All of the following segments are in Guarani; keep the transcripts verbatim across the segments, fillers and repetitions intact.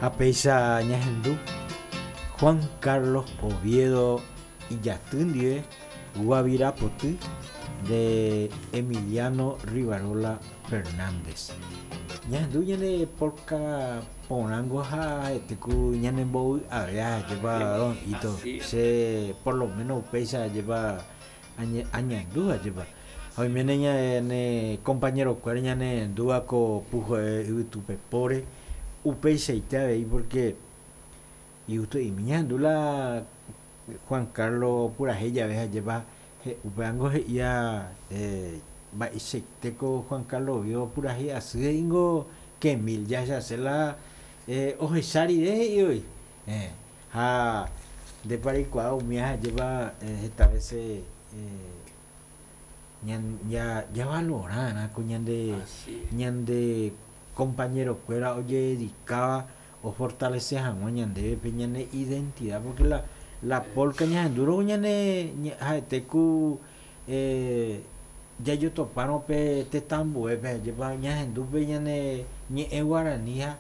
Ha péicha ñahendu Juan Carlos Oviedo ijaty ndive Guavira Poty de Emiliano Rivarola Fernández. Ñahendu ñane polka porãngo ha ha'etéku ñanembovy'ave ajépa don Ito Así es. Che por lo menos upéicha ajépa añe añandu ajépa ha oiméne ñane compañerokuéra ñanerendúva ko puhoe yvytupepóre upeichaite avei porque igusto'imi ñahendu la Juan Carlos purahéi jave ajépa upévango he'ía eh, mba'eichaitéko Juan Carlos Oviedo purahéi asy he'íngo que mil jahechase la eh, ohecha rire he'i eh, ha ndépa reikuaa umi ajépa eh, heta veces eh, ñan ya javalorarã ko ñande Así es. ñande compañerokuéra ojededicaba ofortalece hag̃ua ñandéve pe ñane identidad porque la la polka ñahendúrõ ñane ha'ete ku eh, jajotopárõ pe tetãmbuépe ajépa ñahendu pe ñane ñe'ẽ guarani ha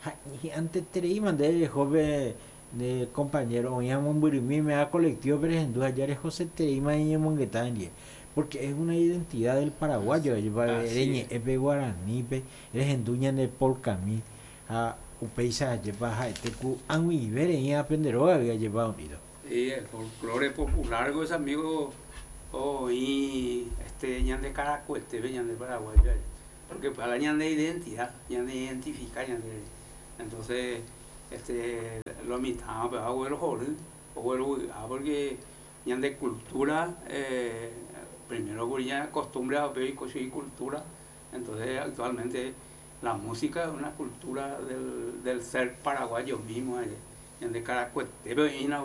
ha hi'ãntetereíma nde reho pe nde compañero oĩva mombyrymíme ha colectivo-pe rehendu ha jarehosetereíma ñañomongeta ndie porque es una identidad del paraguayo ajépa Así es. reñe'ẽ pe guaranípe rehendu ñane polkami ha upéicha ajépa ha'ete ku ag̃uive reĩva pende rógagui ajépa don Ito. Sí, el folclore popular, ese amigo, oĩ este ñande Caracoetépe ñande paraguayo porque para ñande identidad, ñande identifica ñande entonces este lo mitã pe oguerohory oguerovy'a porque ñande cultura eh, primero ya costumbre y cultura entonces actualmente la música es una cultura del, del ser paraguayo mismo ñande Caracoetépe oĩna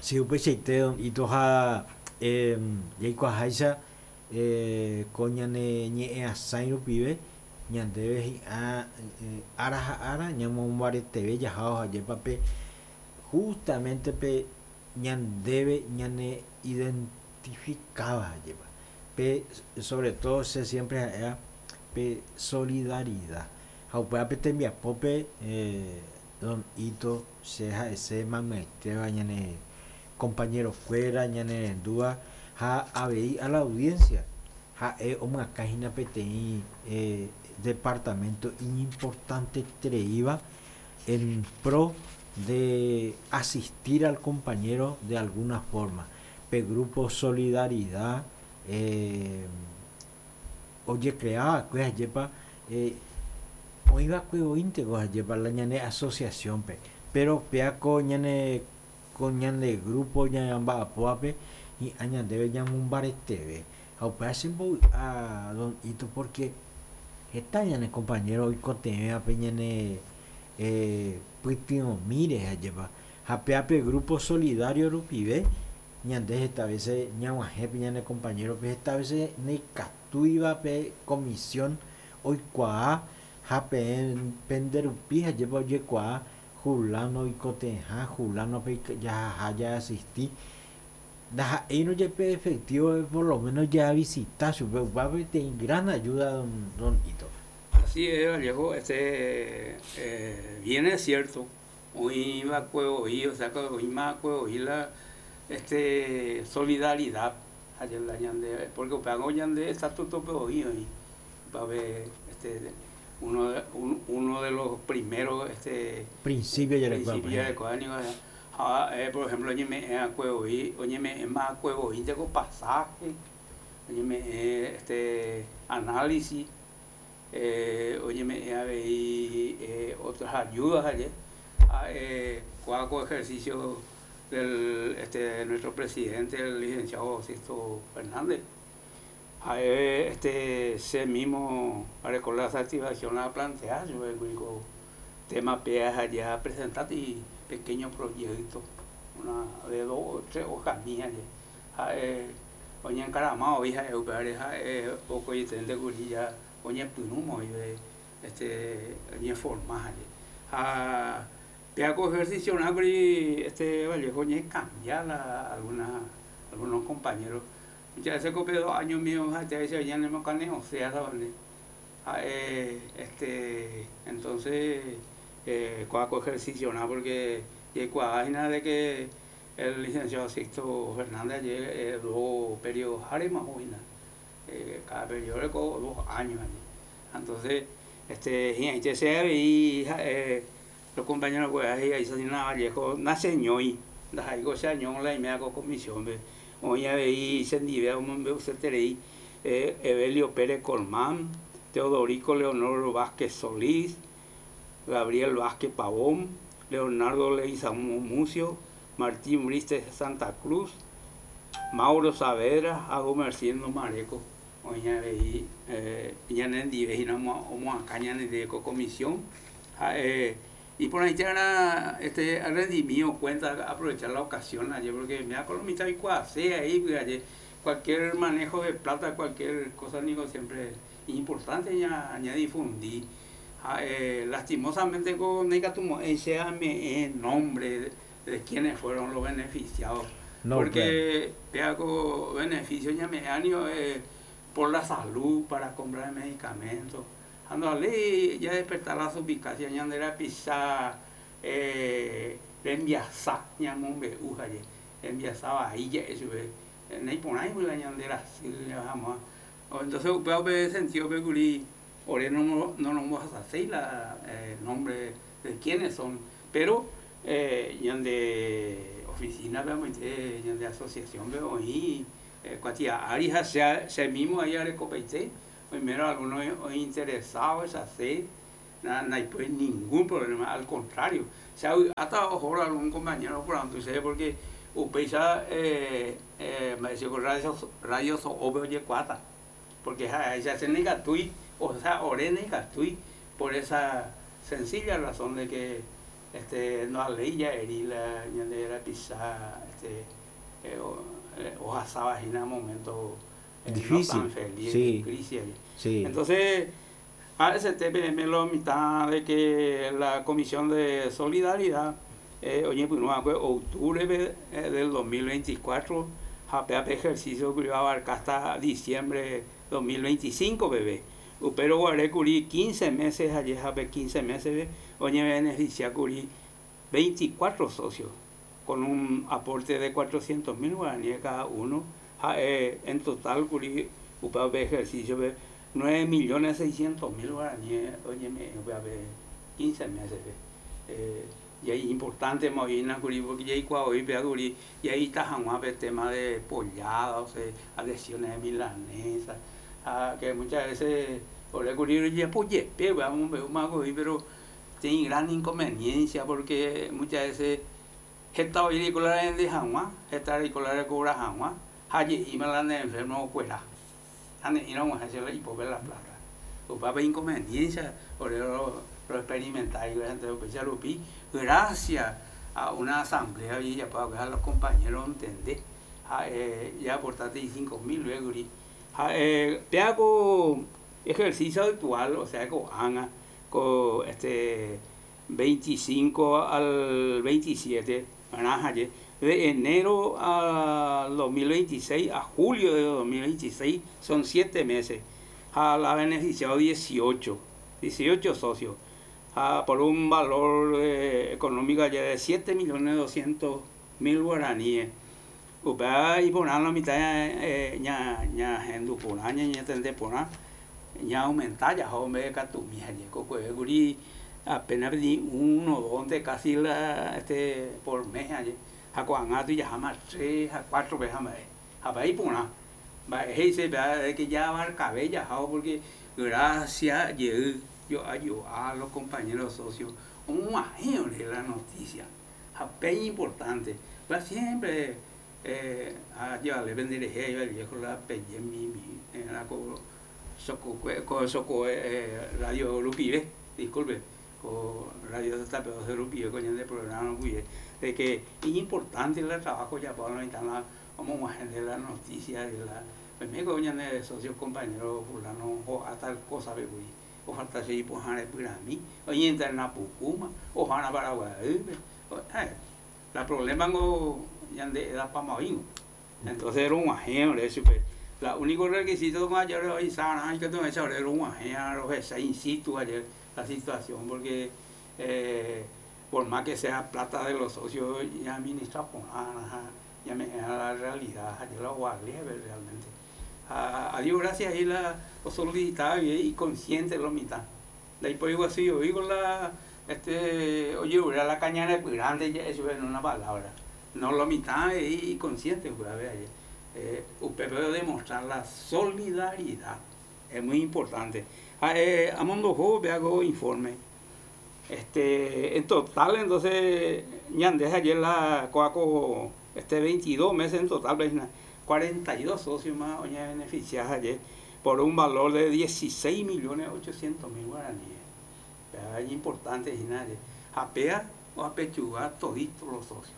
Sí, upeichaite don Ito ha eh, jaikuaaháicha eh, ko ñane ñe'ẽasãi rupive ñandéve hi'ã eh, ára ha ára ñamombareteve jahávo ajépa pe justamente pe ñandéve ñane identificaba ajépa pe sobre todo che siempre ha'éva pe solidaridad ha upéva pe tembiapópe eh, don Ito che ha'ese maymaitéva ñane compañerokuéra ñanerendúva ha avei a la audiencia ha'e omyakãhína peteĩ eh, departamento iñimportantetereíva en pro de asistir al compañero de alguna forma pe grupo Solidaridad eh, ojecreaba ajépa eh, oĩva'ekue voínteko ajépa la ñane asociación-pe pero péa ko ñane ko ñane grupo ñamba'apóvape hi'ã ñandéve ñamombareteve ha upéva chembovy'a don Ito porque heta ñane compañero oikotevẽva pe ñane eh, pytyvõmíre ajépa ha péa pe grupo solidario rupive ñande heta veces ñag̃uahẽ pe ñane compañero-pe heta veces ndaikatúiva pe comisión oikuaa ha peẽ penderupi ajépa ojekuaa fulano oikotevẽha fulano-pe jahaha jaasisti ndaha'éirõ jepe efectivo por lo menos javisita chupe upéva peteĩ gran ayuda don, don Ito. Así es, Vallejo, este, eh, bien es cierto, oĩva'ekue oĩ, o sea, que oĩmava'ekue oĩ la este, solidaridad la ñande, porque upévango ñande estatuto-pe oĩ oĩ upévape este, uno de, un, uno de los primeros este, Principio jarekua principios jarekua niko ha eh, por ejemplo oñeme'ẽva'ekue voi oñeme'ẽmava'ekue voínteko pasaje oñeme'ẽ este, análisis eh, oñeme'ẽ avei eh, otras ayudas ayer ah, eh, kóa ko ejercicio del este, nuestro presidente el licenciado Sixto Fernández ha'e este, che mismo areko la satisfacción a plantear yo ko tema pe allá presentar y pequeño proyecto una de dos o tres hojas mías ha'e oñenkarama oĩ ha'e upévare ha'e okoiténte kuri ya oñepyrũma oĩve este oñeforma ha'e ha péa ko ejercicio kuri este Vallejo oñecambia la alguna algunos compañeros ya ese ko pe dos años mío ha'ete ñanemokane'õsea ha'e este entonces Eh, ko ejercicio porque de que el licenciado Sixto Fernández ayer eh, dos periodos más eh, cada periodo dos años allí. Entonces, este, y eh, los compañeros pues ahí ahí se Vallejo nace ñoi, ndaha'éiko che año la iméva ko comisión-pe oĩ avei chendive omombe'useterei Evelio Pérez Colmán, Teodorico Leonor Vázquez Solís, Gabriel Vázquez Pavón, Leonardo Leguizamón Mucio, Martín Briste Santa Cruz, Mauro Saavedra ha Gumercindo Mareco. Oĩ avei ñanendive hína omoakã ñanendive ko comisión ha'e iporãite este rendimiento cuenta aprovechar la ocasión ayer porque me da mitad oikuaase ahí ayer cualquier manejo de plata, cualquier cosa digo siempre es importante ña, ña difundir. Eh, lastimosamente con sea nombre de, de quienes fueron los beneficiados. No, porque claro. Beneficio ya me eh, por la salud, para comprar medicamentos. Ando ya despertar la suspicacia, ya era pisar, eh, rembiasa, ya mombe'u haye, rembiasa ahí ya eso, naiporãi la ñandera vamos. Entonces, upéva sentido pe kuri ore no no nos a la eh, nombre de quiénes son, pero eh, ñande oficina veamos ñande asociación veo y kuatia ari ha se se mismo ahí arekopaite primero algunos interesados hacer no hay pues ningún problema, al contrario, se ha hasta ojo algún compañero por antes porque upéicha eh, eh, me decía radio radio so'ópe ojekuaáta porque se hace negatui, o sea, ore negatui por esa sencilla razón de que este no ley ya la ñande pisa este eh, o en momento eh, difícil, no tan feliz, sí, crisis. Sí. Entonces, a ese T P M lo mitad de que la Comisión de Solidaridad eh, oye, pues, no, octubre eh, del dos mil veinticuatro, ha ejercicio que iba a abarcar hasta diciembre dos mil veinticinco, bebé. Pero guaré kuri quince meses, allí jape quince meses, oye, beneficia kuri veinticuatro socios con un aporte de cuatrocientos mil guaraníes cada uno. Ja, eh, en total, kuri, upe ejercicio, nueve millones seiscientos mil guaraníes, oye, me, quince meses. Eh, y ahí importante movina kuri porque ya hoy kuri y ahí está el tema de polladas, adhesiones de milanesa, ah, que muchas veces por kuri ya polle, vamos pero tiene gran inconveniencia porque muchas veces heta oirekola de hag̃ua, heta reikola recobra hag̃ua, ha je'íma la ne enfermo okuera. Ha ne'ĩra og̃uahẽ che la ipópe la plata. Upépe inconveniencia, ore ro, ro experimentar upéicha rupi, gracias a una asamblea ojejapo a los compañeros entender, ha eh, ya aportaste cinco mil luego ha eh, péa ko ejercicio actual, o sea, ko'ág̃a ko este veinticinco al veintisiete de enero al dos mil veintiséis a julio de dos mil veintiséis son siete meses. Ha la beneficiado dieciocho, dieciocho socios, a, por un valor eh, económico ya de siete millones doscientos mil guaraníes. Upéva iporã la mitad eh, ña ña hendu porã ñañatende porã ña aumenta jaha mbeguekatumi jeko kuri apenas pedí uno dos casi la este por mes aje ha ko'ág̃a tujaháma tres a cuatro veces mba'e ha mba'e iporã mba'e he'ise de que ya abarcave jahávo porque gracias jey jo'a los compañeros socios og̃uahẽ ore la noticia ha pe importante va siempre eh, a llevarle penderehe iba el viejo la peye mi mi la ko soko ko soko eh, radio rupive, disculpe, ko radio T P doce rupive ko ñande programa rupive de que es importante el trabajo ya para la como de la noticia de la pues me ko ñande socio compañero fulano o a tal cosa be o falta se ipohãre pyrami oñenterna pukúma ohãra Paraguay la problema ngo ñande edapamaoíngo entonces rog̃uahẽ ore chupe la único requisito ayer oisarã ikatu ohecha ore rog̃uahẽ rohecha in situ ayer la situación porque Eh, por más que sea plata de los socios, ya administra por ya me la realidad, ya la realmente. A, a Dios gracias, ahí la solicitaba y consciente lo mitad. De ahí por igual así, yo digo la, este, oye, la caña de grande, ya eso en una palabra. No lo mitad y consciente, pues, a ver, eh, usted puede demostrar la solidaridad, es muy importante. Ah, eh, amondoho, hago informe. Este, en total, entonces, ñande ayer la coaco, este veintidós meses en total, cuarenta y dos socios más oña beneficiados ayer por un valor de dieciséis millones ochocientos mil guaraníes. Es importante, nadie. Japea o apechuga toditos los socios.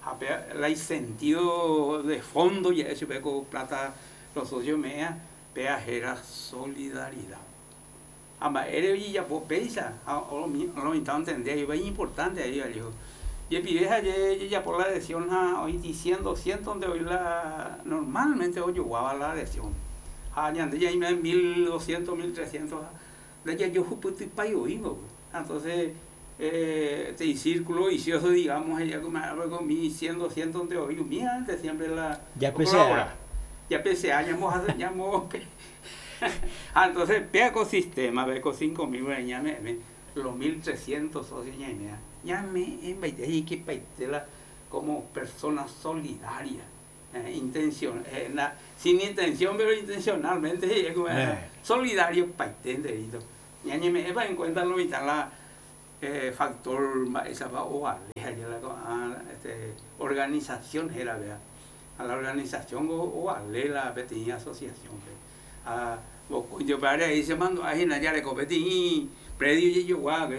Japea, el sentido de fondo, ya eso con plata, los socios mea, pea era solidaridad. Ama ere ya po peisa, o lo entender, y es importante ahí, yo. Y vieja ya por la adhesión a hoy diciendo doscientos donde hoy la normalmente hoy yo guaba la adhesión. Ah, ya ya hay mil doscientos, mil trescientos. De ya yo juputi payo oigo. Entonces eh este círculo vicioso, digamos, ella como algo mi cien, doscientos donde hoy mía antes siempre la ya P C A. Ya P C A, ya mo ya mo. Ah, entonces pe ecosistema, ve con cinco mil ya me, me los mil trescientos socios ya me ya me en que paitela como persona solidaria, eh, intención, eh, na, sin intención pero intencionalmente, eh, como, eh. solidario paitenderito. Ya ni me va en cuenta lo vital la eh, factor esa va o aleja ya la a, este, organización era vea a la organización o, o ale la pequeña asociación ve. A yo para ahí se mandó a ya le competí predio y yo guau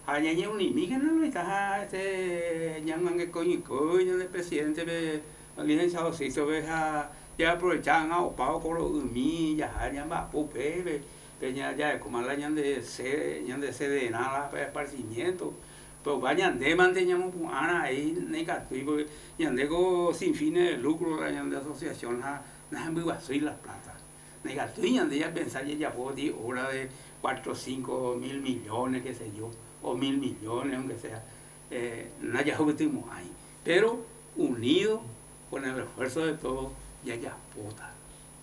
añañe un imi no está este ñan que coño coño del presidente ve licenciado Sixto ve ya aprovechan a opao con los umi ya ya va pupe ve peña ya como la ñan de C ñan de C de nada para esparcimiento pero vayan de manteñamos ana ahí negativo ñan de sin fines de lucro la ñan de asociación na na muy soy las plata negativo ñan de ya pensar ya puedo di obra de cuatro cinco mil millones qué sé yo o mil millones, aunque sea, eh, no haya ahí. Pero unido con el esfuerzo de todos, ya ya puta.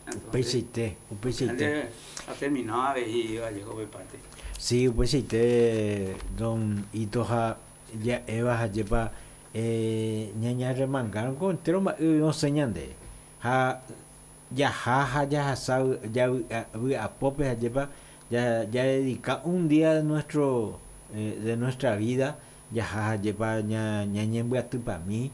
Entonces, un pesite. Ha terminado de ir, llegó de parte. Sí, un pesite, don Itoja, ya Eva, lleva, eh, ñaña remangaron con entero, no señande. Ja, ya ja, ya ja, ya a pope, lleva, ya, ya dedica un día de nuestro Eh, de nuestra vida ya ja lleva ña ña ñembyatýpa pa mí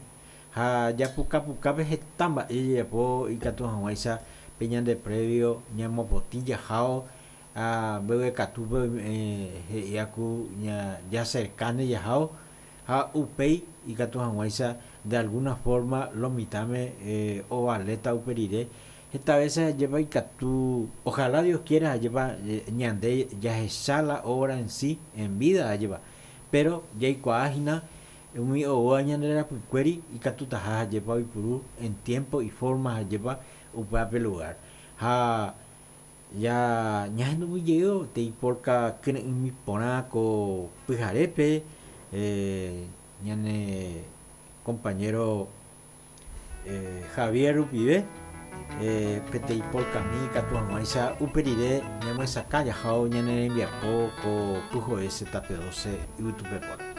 ja ya puka puka pe hetamba ejejapo ikatu hag̃uáicha pe ñande previo ñamopotĩ jaháo a mbeguekatúpe he'iaku ña jacercáne jaháo ha upéi ikatu hag̃uáicha de alguna forma lo mitãme eh, ovaléta upe rire esta vez lleva ikatu ojalá Dios quiera lleva ñande jahecha la obra en sí en vida lleva pero jaikuaáhina umi oúva ñande rapykuéri ikatutaha lleva oipuru en tiempo y forma lleva upépe lugar ha ya ñahenduguyjey teiporka kyre'ỹmi porã ko pyharépe eh, ñane compañero eh, Javier rupive Eh, peteĩ polkami ikatu hag̃uáicha upe rire ñamyesakã jaháo ñane rembiapo ko pyhoe Z P doce yvytupepóra.